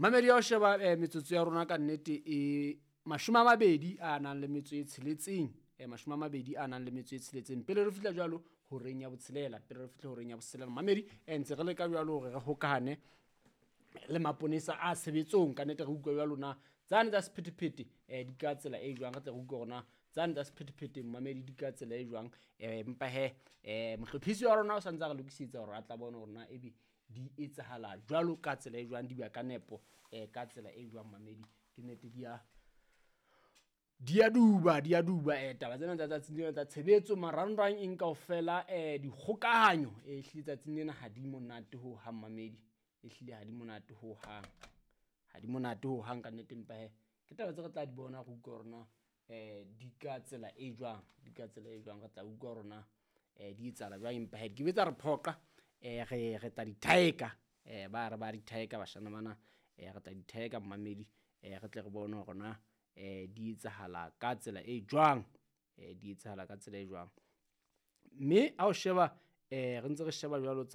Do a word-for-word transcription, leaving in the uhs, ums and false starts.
Mamedi ya ho sheba eh, metsotso ya rona ka nnete e mashome a mabedi a nang le metso e tsheletseng, eh, mashome a mabedi a nang le metso e tsheletseng pele re fihla jwalo horeng ya botshelela, pele re fihla horeng ya botshelela mamedi, eh, ntse re leka jwalo hore re hokahane le maponesa a tshebetsong. Ka nnete re utlwa jwalo na tsane tsa sephethephethe eh, di ka tsela e jwang, re tle re utlwe hore na tsane tsa sephethephethe mamedi di ka tsela e jwang. eh, empa he eh, mohlophisi wa rona o santse a re lokisetsa hore a tla bona hore na ebe di etsahala jwalo ka tsela e jwang, di ba ka nepo eh, ka tsela e jwang mamedi. Ke nnete di a di a duba, di a duba eh, taba tsena tsa tsatsing lena tsa tshebetso marangrang eng kaofela, eh, dikgokahanyo eh, ehlile tsatsing lena ha di monate ho hang mamedi, ehlile ha di monate ho hang, ha di monate ho hang ka nnete. Empa he ke taba tse re tla di bona, re utlwa hore na eh, di ka tsela e jwang, di ka tsela e jwang, re tla utlwa hore na eh, di etsahala jwang. Empa he di ke be tsa re phoqa, eh, re re tla di thaeka, eh, ba re ba di thaeka bashana bana, eh, re tla di thaeka mamedi, eh, re tle re bone hore na eh, di etsahala ka tsela e jwang, eh, di etsahala ka tsela e jwang. Mme ha o sheba eh, re ntse re sheba jwalo tsa